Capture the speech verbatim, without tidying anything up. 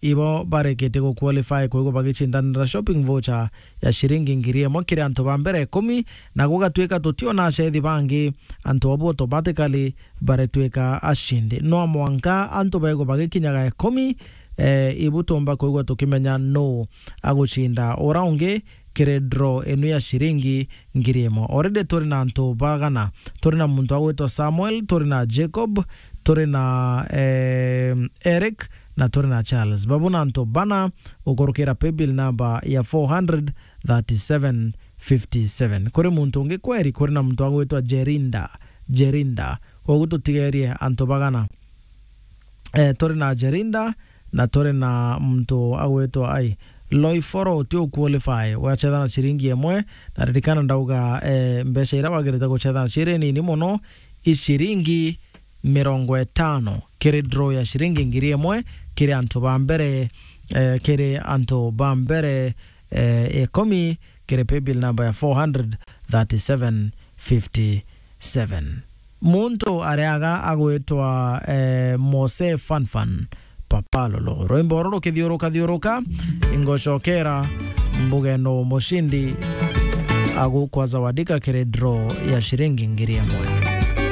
ibo bareketie gu qualify kwigwa bagicindanira shopping voucher ya ciringi ngiri imwe kiri antu ba mbere ikumi, na gugatwika tutionaa cethi bangi, antu abu automatically baretwika acindi. No mwanka antu baigwa bagikinyaga ikumi, eh, ibu tumba kwigwa tukimenya nuu agucinda ura ungi kiri draw inu ya ciringi ngiri imwe. Already turi na antu bagana. Turi na muntu agwitwa Samuel, turi na Jacob, turi na, eh, Eric, na turi na Charles. Babu na antu bana ukurukira paybill number ya four hundred thirty-seven fifty-seven. Kuri muntu ungi kweri, kuri na muntu agwitwa Jerinda, Jerinda. Koguo tutigerie antu bagana. Eh, turi na Jerinda, na turi na muntu agwitwa ai, Loiforo uti u qualify, wachethana ciringi imwe, na ririkana ndauga, eh, mbeca iria wagirite guchethana ciri nini muno, i ciringi mirongo itano, kiri draw ya ciringi ngiri imwe, kiri antu ba mbere, eh, kiri antu ba mbere, eh, ikumi, kiri paybill number ya four hundred thirty-seven fifty-seven. Muntu ariaga agwitwa, eh, Mose Fanfan Papa Lolo. Rwimbo ruru rukithiuruka thiuruka, ingocokera mbugeno mucindi agukwa zawadika kiri draw ya ciringi ngiri imwe.